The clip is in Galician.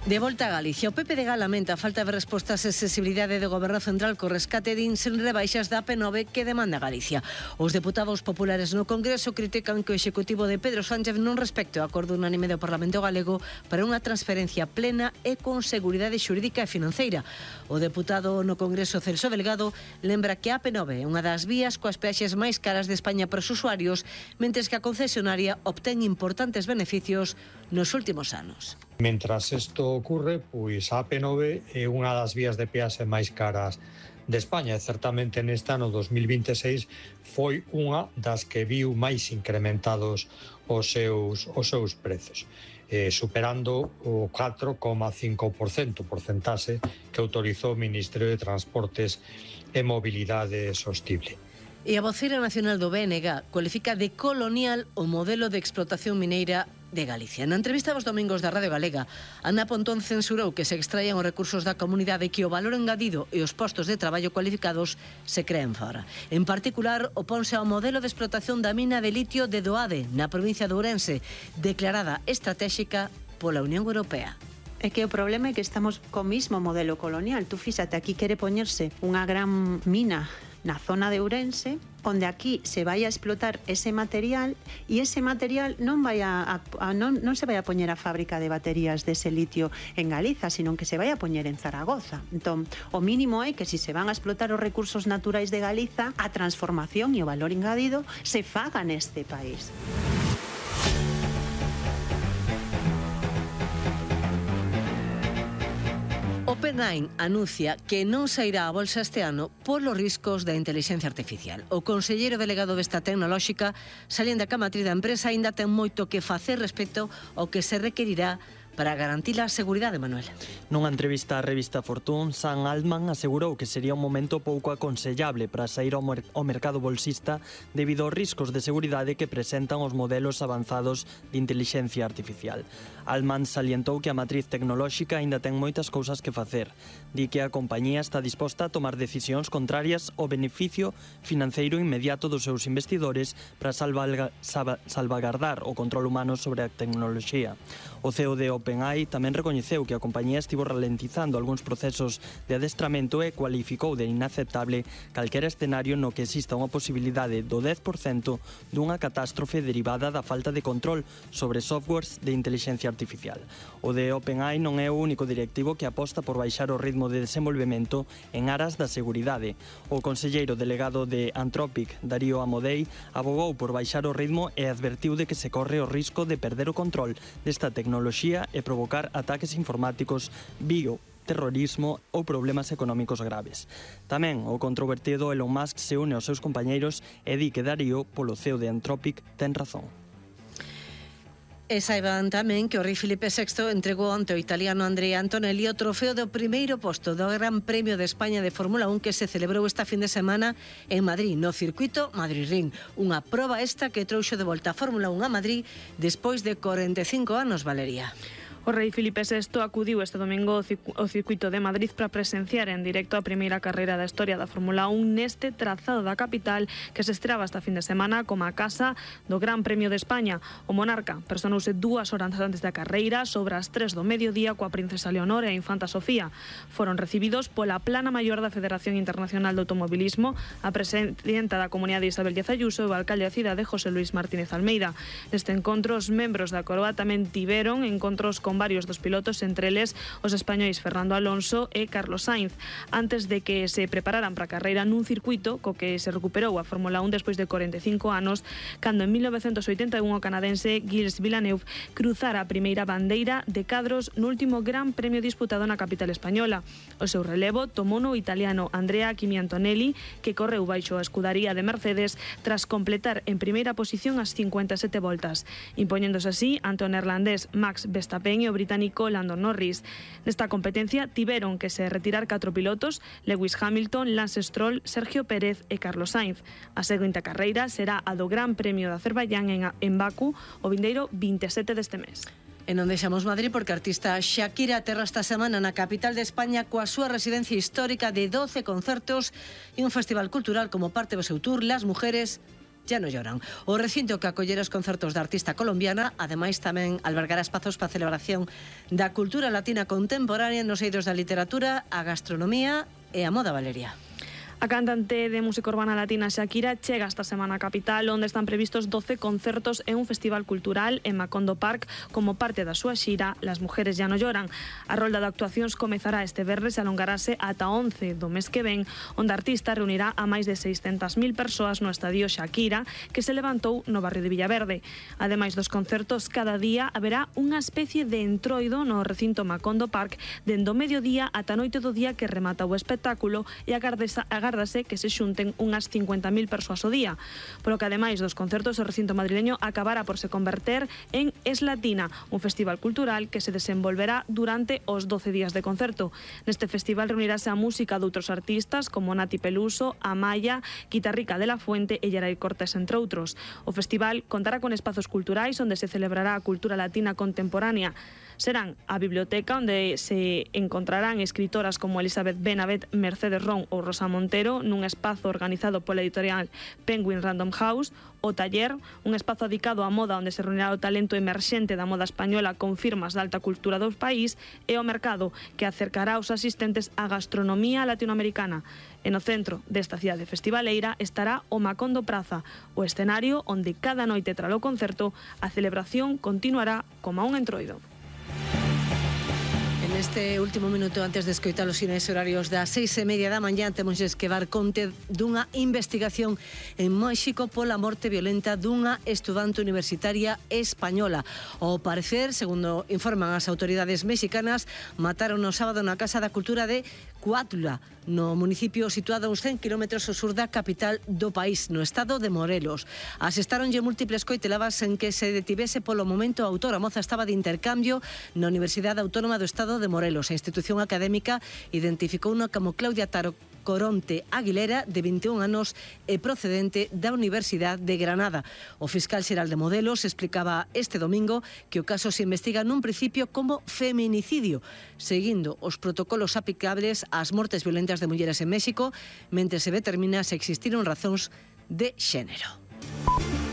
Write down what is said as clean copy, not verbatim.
De volta a Galicia, o PP de Gala lamenta a falta de respostas e accesibilidade do Goberno Central co rescate de sen rebaixas da AP9 que demanda Galicia. Os deputados populares no Congreso critican que o Executivo de Pedro Sánchez non respecte o acordo unánime do Parlamento Galego para unha transferencia plena e con seguridade xurídica e financeira. O deputado no Congreso Celso Delgado lembra que a AP9 é unha das vías coas peaxes máis caras de España para os usuarios, mentres que a concesionaria obtén importantes beneficios nos últimos anos. Mentras isto ocurre, pois a AP9 é unha das vías de peaxe máis caras de España. Certamente neste ano 2026 foi unha das que viu máis incrementados os seus prezos, superando o 4,5%, porcentaxe que autorizou o Ministerio de Transportes e Mobilidade Sostible. E a voceira nacional do BNG cualifica de colonial o modelo de explotación mineira de Galicia. Na entrevista aos domingos da Radio Galega, Ana Pontón censurou que se extraian os recursos da comunidade e que o valor engadido e os postos de traballo cualificados se creen fora. En particular, oponse ao modelo de explotación da mina de litio de Doade, na provincia de Ourense, declarada estratégica pola Unión Europea. É que o problema é que estamos co mismo modelo colonial. Tú fíxate, aquí quere poñerse unha gran mina na zona de Ourense, onde aquí se vai a explotar ese material e ese material non se vai a poñer a fábrica de baterías dese litio en Galiza, sino que se vai a poñer en Zaragoza. Entón, o mínimo é que se van a explotar os recursos naturais de Galiza, a transformación e o valor engadido se faga neste país. OpenAI anuncia que non sairá a bolsa este ano polos riscos da intelixencia artificial. O conselleiro delegado desta tecnolóxica salienta que a matriz da empresa aínda ten moito que facer respecto ao que se requerirá para garantir a seguridade, Manuel. Nunha entrevista á revista Fortune, Sam Altman asegurou que sería un momento pouco aconsellable para sair ao mercado bolsista debido aos riscos de seguridade que presentan os modelos avanzados de intelixencia artificial. Altman salientou que a matriz tecnolóxica aínda ten moitas cousas que facer. Di que a compañía está disposta a tomar decisións contrarias ao beneficio financeiro inmediato dos seus investidores para salvagardar o control humano sobre a tecnoloxía. O CEO de OpenAI tamén recoñeceu que a compañía estivo ralentizando algúns procesos de adestramento e cualificou de inaceptable calquera escenario no que exista unha posibilidade do 10% dunha catástrofe derivada da falta de control sobre softwares de intelixencia artificial. O de OpenAI non é o único directivo que aposta por baixar o ritmo de desenvolvemento en aras da seguridade. O conselleiro delegado de Anthropic, Darío Amodei, abogou por baixar o ritmo e advertiu de que se corre o risco de perder o control desta tecnoloxía e provocar ataques informáticos, terrorismo ou problemas económicos graves. Tamén o controvertido Elon Musk se une aos seus compañeiros e di que Darío, polo CEO de Anthropic, ten razón. E saiban tamén que o rei Filipe VI entregou ante o italiano Andrea Antonelli o trofeo do primeiro posto do Gran Premio de España de Fórmula 1 que se celebrou esta fin de semana en Madrid, no circuito Madrid-Ring. Unha proba esta que trouxo de volta a Fórmula 1 a Madrid despois de 45 anos, Valeria. O rei Filipe VI acudiu este domingo ao circuito de Madrid para presenciar en directo a primeira carreira da historia da Fórmula 1 neste trazado da capital que se estraba esta fin de semana como a casa do Gran Premio de España. O monarca personouse 2 horas antes da carreira sobre as 3 do mediodía coa princesa Leonor e a infanta Sofía. Foron recibidos pola plana maior da Federación Internacional de Automobilismo, a presidenta da Comunidade Isabel Díaz Ayuso e o alcalde da cidade José Luis Martínez Almeida. Neste encontro, os membros da coroa tamén tiveron encontros con varios dos pilotos, entre eles os españois Fernando Alonso e Carlos Sainz, antes de que se prepararan para a carreira nun circuito co que se recuperou a Fórmula 1 despois de 45 anos, cando en 1981 o canadense Gilles Villeneuve cruzara a primeira bandeira de cadros no último Gran Premio disputado na capital española. O seu relevo tomou o italiano Andrea Kimi Antonelli, que correu baixo a escudaría de Mercedes tras completar en primeira posición as 57 voltas, impoñéndose así ante o neerlandés Max Verstappen e o británico Lando Norris. Nesta competencia tiveron que se retirar 4 pilotos: Lewis Hamilton, Lance Stroll, Sergio Pérez e Carlos Sainz. A seguinte carreira será a do Gran Premio de Azerbaiyán en Bakú o vindeiro 27 deste mes. E non deixamos Madrid porque a artista Shakira aterra esta semana na capital de España coa súa residencia histórica de 12 concertos e un festival cultural como parte do seu tour Las Mujeres ya no lloran. O recinto que acollera os concertos da artista colombiana, ademais tamén albergará espazos para a celebración da cultura latina contemporánea nos eidos da literatura, a gastronomía e a moda, Valeria. A cantante de música urbana latina Shakira chega esta semana a capital, onde están previstos 12 concertos e un festival cultural en Macondo Park como parte da súa xira Las mujeres ya no lloran. A rolda de actuacións comezará este venres e alongarase ata 11 do mes que ven, onde a artista reunirá a máis de 600.000 persoas no estadio Shakira, que se levantou no barrio de Villaverde. Ademais dos concertos, cada día haberá unha especie de entroido no recinto Macondo Park dende o mediodía ata a noite do día que remata o espectáculo e agárdase que se xunten unhas 50.000 persoas ao día. Polo que, ademais dos concertos, o recinto madrileño acabará por se converter en Es Latina, un festival cultural que se desenvolverá durante os 12 días de concerto. Neste festival reunirase a música de outros artistas como Nati Peluso, Amaya, Guitarrica de la Fuente e Yeray Cortés, entre outros. O festival contará con espazos culturais onde se celebrará a cultura latina contemporánea. Serán a biblioteca, onde se encontrarán escritoras como Elizabeth Benavent, Mercedes Ron ou Rosa Montero, nun espazo organizado pola editorial Penguin Random House; o taller, un espazo dedicado á moda onde se reunirá o talento emerxente da moda española con firmas de alta cultura do país; e o mercado, que acercará aos asistentes á gastronomía latinoamericana. E no centro desta cidade festivaleira estará o Macondo Praza, o escenario onde cada noite tralo concerto a celebración continuará como un entroido. Neste último minuto, antes de escoitar os sinais horarios das 6:30 da mañá, temos que dar conte dunha investigación en México pola morte violenta dunha estudante universitaria española. Ao parecer, segundo informan as autoridades mexicanas, mataron no sábado na Casa da Cultura de Cuautla, no municipio situado a uns 100 km ao sur da capital do país, no estado de Morelos. Asestaronlle múltiples coiteladas en que se detivese polo momento a autora. A moza estaba de intercambio na Universidade Autónoma do Estado de Morelos. A institución académica identificouna como Claudia Taro Coronte Aguilera, de 21 anos e procedente da Universidade de Granada. O fiscal xeral de Modelos explicaba este domingo que o caso se investiga nun principio como feminicidio, seguindo os protocolos aplicables ás mortes violentas de mulleres en México, mentre se determina se existiron razóns de xénero.